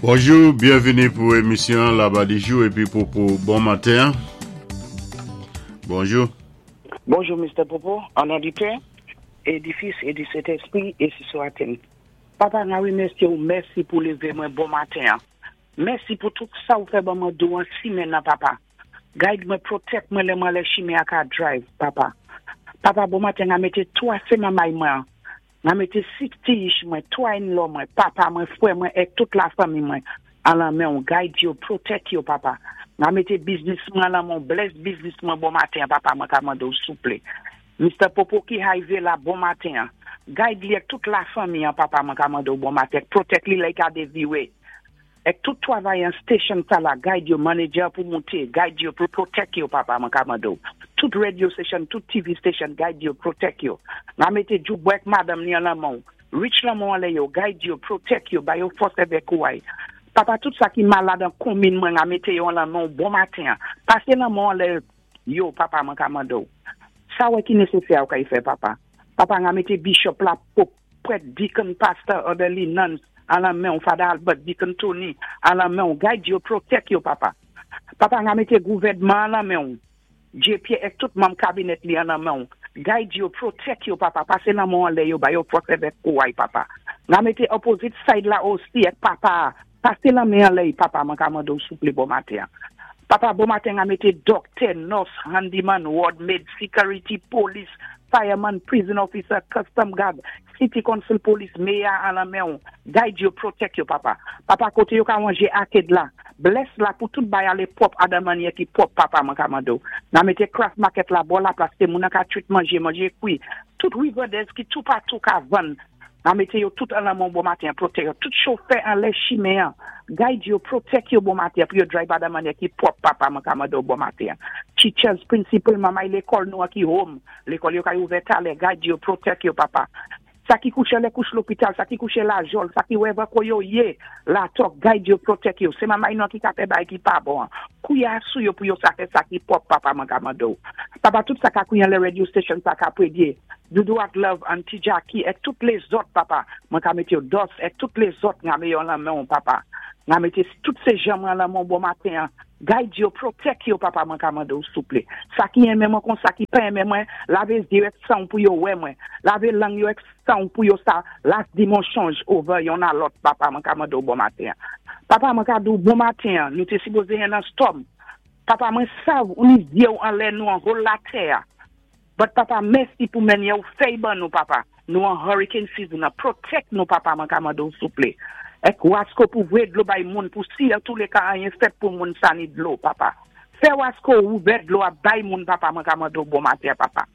Bonjou, byenvini pou emisyon Laba di Jou epi Popo bon maten. Bonjou. Bonjou, Mr. Popo, an non di Pè, é di Fis, é di Sentespri, ensi swa-t-il. Papa, mwen wimèsyé ou, mèsi pou lévé mwen bon maten. Mèsi pou tout sa ou fè ban mwen douwan simenn nan, Papa. Guide mwen, protect mwen lè mwen lè chimen a ka drive, Papa. Papa, bon maten, a mété twa sé manmay mwen. A mété 60-ish mwen, twa in-law mwen, papa mwen, fwè mwen, é tout la fanmi mwen. An lan men ou, guide yo, protect yo, Papa. A mété business mwen lan men, bless business mwen bon maten, Papa, mwen ka mandé ou souplé. Mr. Popo ki highway la, bon maten. Guide li ek tout la fanmi an, Papa, mwen ka mande ou bon maten. Protect li lè ka deviwe. Ek tout travayan station sa la, guide yo, manager pou monté, guide yo, pou protect yo, Papa, mwen ka mande ou. Tout radio station, tout TV station, guide yo, protect yo. Mwen mété Djoubwek madam ni an lan men. Reach lan men anlè yo, guide yo, protect yo, ba yo fòs avèk kouray. Papa, tout sa ki malad an komin mwen a mété yo an lan men, bon maten. Pasé lan men anlè yo, Papa, mwen ka mande ou. Sa wè ki nesesè ou ka y fè, Papa. Papa, nga mété bishop la, pope, prèt, deacon, pastor, elderly, nuns, an lan men ou, Father Albert, Deacon Tony, an lan men ou, guide yo, protect yo, Papa. Papa, nga mété gouvèdman an lan men ou. JP ek tout manm kabinèt li an lan men ou. Guide yo, protect yo, Papa. Pasé lan men anlè yo, ba yo fòs avèk kouray, Papa. Nga mété opposite side la osi ek Papa. Pasé lan men anlè, Papa, mwen ka mande ou souplé bon maten. Papa, bon maten, nga mété doctor, nurse, handyman, ward maid, security, police, fireman, prison officer, custom guard, city council police, mayor an lan men ou. Guide yo, protect yo, Papa. Papa, koté yo ka wanje arcade la. Bless la pou tout bay alé pwòp adan manyè ki pwòp, Papa, mwen ka mande ou. Nan mété craft market la, bò la plas, té moun an ka twit manjé, manjé kwi. Tout riverdez ki tout patou ka vann. Nan mété yo tout an lan men bon maten, protect yo. Tout chofè an lè chimen an. Guide yo, protect yo bon maten, pou yo drive adan manyè ki pwòp, Papa, mwen ka mande ou bon maten. Teachers, principal, mamay lékòl nou an ki home. Lékòl yo ka ouvè talè, guide yo, protect yo, Papa. Sa ki kouché lè kouch lopital, sa ki kouché la jol, sa ki wèvè ko yo yé, la tok, guide yo, protect yo. Sé mamay nou an ki ka fè bay ki pa bon. Kouya sou yo pou yo sa fè sa ki pwòp, Papa, mwen ka mande ou. Papa, tout sa ka kouyan lè radio station sa ka prédyé. Doudou ak Love, Auntie Jackie, ek tout lézòt, Papa. Mwen ka mété yo dos, ek tout lézòt nga mé yo lan men ou, Papa. Nga mété tout sé jan mwen lan men bon maten. Guide yo, protect yo, Papa, mwen ka mande ou souplé. Sa ki enmen mwen kon sa ki pa enmen mwen, lavé zye ek san pou yo wè mwen. Lavé lang yo ek san pou yo sa las di mensonj over yon a lòt, Papa, mwen ka mande ou bon maten. Papa, mwen ka di ou bon maten, nou té sipozé yon nan storm. Papa, mwen sav ou ni zye ou an lè nou an whole la tè. But Papa, mèsi pou manyè ou fèy ban nou, Papa. Nou an hurricane season, protect nou, Papa, mwen ka mande ou souplé. Ek wasko pou vwé dlo bay moun, pou si an tou lé ka anyen fèt pou moun sa ni dlo, Papa. Fè wasko ouvè dlo a bay moun, Papa, mwen ka mande ou bon maten, Papa.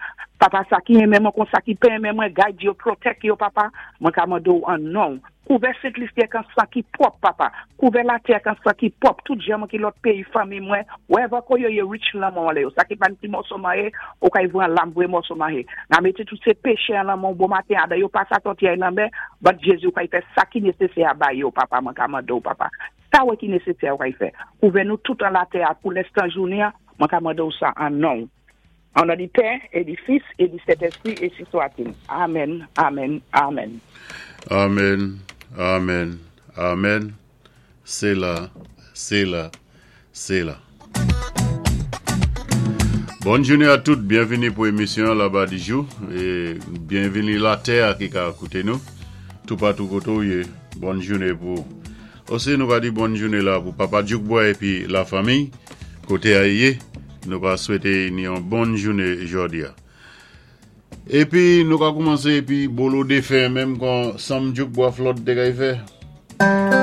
Papa, sa ki enmen mwen kon sa ki pa enmen mwen, guide yo, protect yo, Papa, mwen ka mande ou an non. Kouvè Sent Lisi ak an san ki pwòp, Papa. Kouvè latè ak an san ki pwòp. Tout jan mwen ki lòt péyi fanmi mwen. Wherever ko yo ye reach lan men anlè yo. Sa ki pa ti mòso manyé, ou ka y vran lam vwé mòso manyé. Nan mété tout sé péché an lan men bon maten, adan yo pa sa sòti ay lan men, but Jésus ou ka y fè sa ki nesesè a bay yo, Papa, mwen ka mande ou, Papa. Sa wè ki nesesè ou ka y fè. Kouvè nou tout an latè a pou lenstan jounen, mwen ka mande ou sa an non. An non di Pè, é di Fis, é di Sentespri, ensi swa-t-il. Amen, amen, amen. Amen, amen, amen. Séla, séla, séla. Bonne journée à toutes, byenvini pou émisyon Laba di Jou é byenvini latè ki ka ékouté nou tout patou koté ou yé. Bonne journée pou osi nou va di bonne journée la pou papa Djoukboy épi la fanmi koté a yé. Nou va swété ni yon bonne journée jòdi a. Épi nou ka koumansé épi bolo défen menm kon Sam Djoukboy Flood té kay fè.